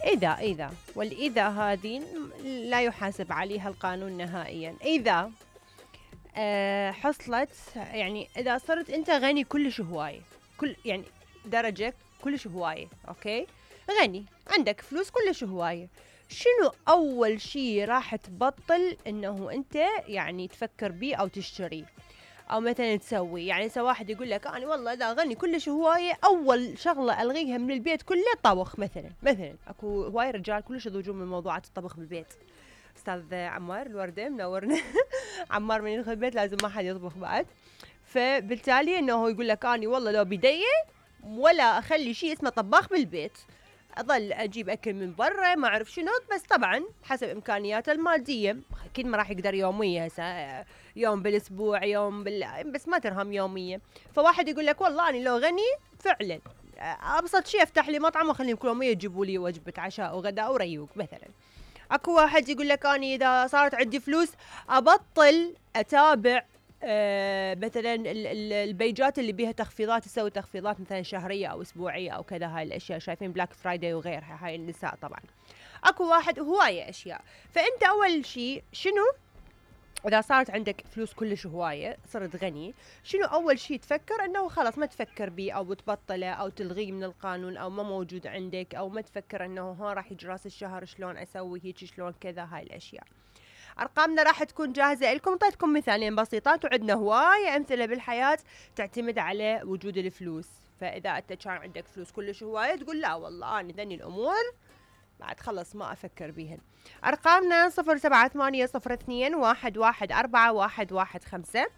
إذا والإذا هذه لا يحاسب عليها القانون نهائيا. إذا حصلت، يعني إذا صرت أنت غني كلش هواية، كل يعني درجة كلش هواية، أوكي، غني عندك فلوس كلش هواية، شنو أول شي راح تبطل إنه أنت يعني تفكر بيه أو تشتريه أو مثلا تسوي؟ يعني واحد يقول لك أنا والله إذا غني كلش هواية أول شغلة ألغيها من البيت كله طبخ مثلا أكو هواي رجال كلش يضوجون من موضوعات الطبخ بالبيت. أستاذ عمار الوردة منورنا عمار من يدخل البيت لازم ما حد يطبخ بعد. فبالتالي إنه يقول لك أنا والله لو بدي ولا أخلي شيء اسمه طباخ بالبيت، أظل أجيب أكل من برا ما أعرف شنو، بس طبعا حسب إمكانياته المادية، أكيد ما راح يقدر يومية هسه، يوم بالأسبوع يوم بس ما ترهم يومية. فواحد يقول لك والله أنا لو غني فعلا أبسط شيء أفتح لي مطعم وأخليهم كل يومية يجيبوا لي وجبة عشاء وغداء وريوق مثلا. اكو واحد يقول لك اني اذا صارت عندي فلوس ابطل اتابع مثلا البيجات اللي بيها تخفيضات، تسوي تخفيضات مثلا شهريه او اسبوعيه او كذا. هاي الاشياء شايفين بلاك فرايداي وغيرها، هاي النساء طبعا. اكو واحد هوايه اشياء. فانت اول شيء شنو إذا صارت عندك فلوس كلش هواية، صرت غني، شنو أول شي تفكر؟ أنه خلاص ما تفكر بيه أو تبطله أو تلغيه من القانون أو ما موجود عندك، أو ما تفكر أنه ها راح يجي راس الشهر شلون أسوي هيك شلون كذا. هاي الأشياء أرقامنا راح تكون جاهزة لكم. طيتكم مثالين بسيطات، وعندنا هواية أمثلة بالحياة تعتمد على وجود الفلوس. فإذا أنت كان عندك فلوس كلش هواية تقول لا والله أنا ذني الأمور بعد خلص ما أفكر بيهن. أرقامنا 078021141115